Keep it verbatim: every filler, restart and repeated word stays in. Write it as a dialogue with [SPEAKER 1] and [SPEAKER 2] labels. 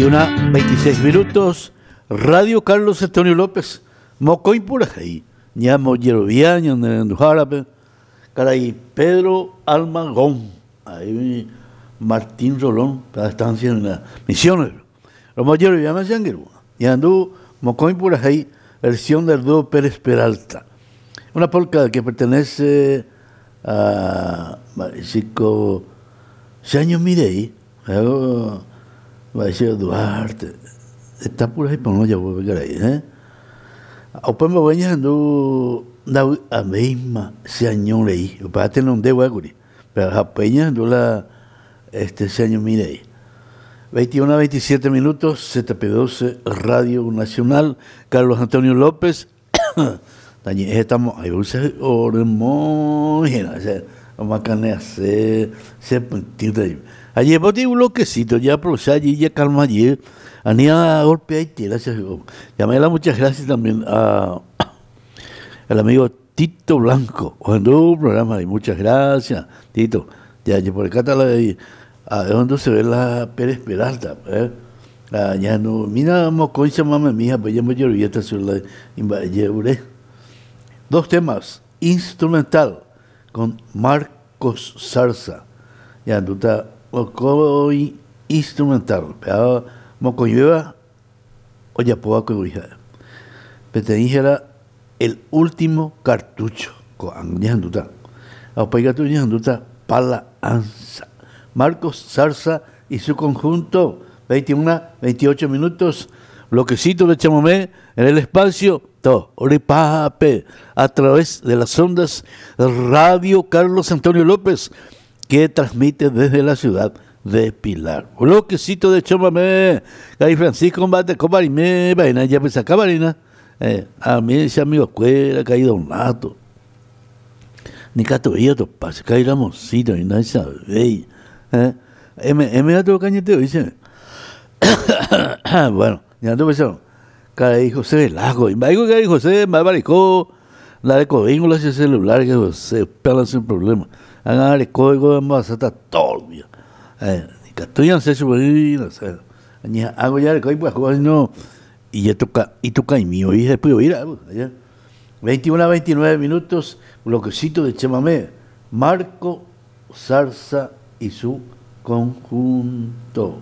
[SPEAKER 1] Veintiuna, veintiséis minutos. Radio Carlos Antonio López, Mocoy Purajay, Ñamo Yerovia, Ñanderendujárape, Caray Pedro Almagón, ahí Martín Rolón, la estancia en la Misiones. Romo Yerovia me decían que Ñandú, Mocoy Purajay, versión del dúo Pérez Peralta. Una polca que pertenece a Chico Seaño Mirey, va a decir Duarte, está por ahí por no ya voy a ver ahí, ¿eh? Open Bobeña ando a misma Seaño Rey, para tener un dedo aguri, pero a Peña ando la este Seaño Mirey. veintiuno a veintisiete minutos, Z P doce, Radio Nacional, Carlos Antonio López. Estamos ahí, se se ayer boté un bloquecito, ya pero allí ya calma allí, anía golpe ahí, gracias. Llamé muchas gracias también a al amigo Tito Blanco, cuando un programa y muchas gracias, Tito. Ya, ya por acá está la a donde se ve la Pérez Peralta, ¿eh? Ah, ya no, mira, mocoincha mama mija, pues ya me lloré esta sola invayeure. Dos temas, instrumental con Marcos Zarza. Ya no está mocoy instrumental, pero mocoyueva o ya puedo cobijar. Pero el último cartucho con ya no está. Apaiga tu ya no está pala ansa. Marcos Zarza y su conjunto, veintiuno, veintiocho minutos, bloquecito de chamamé en el espacio Oripape, a través de las ondas Radio Carlos Antonio López, que transmite desde la ciudad de Pilar. Bloquecito de chamamé, Cari Francisco combate, cobarime, vaina, ya pues acá, varina. Eh, a mí ese amigo escuela, caído un rato. Ni cato to pase, caí Ramoncito, y nadie sabe. Eh, M, M, otro cañeteo, dice. Bueno, ya no pensó. Caray José Velasco, y me dijo que José, me abaricó, la de codíngula ese celular, que José, pela sin problema. Hagan el código de masata todo el día. Eh, y no sé si no sé. Hago ya el código, pues, no. Y ya toca, y toca y mío, y después ir allá. veintiuno a veintinueve minutos, bloquecito de chamamé, Marco Zarza y su conjunto.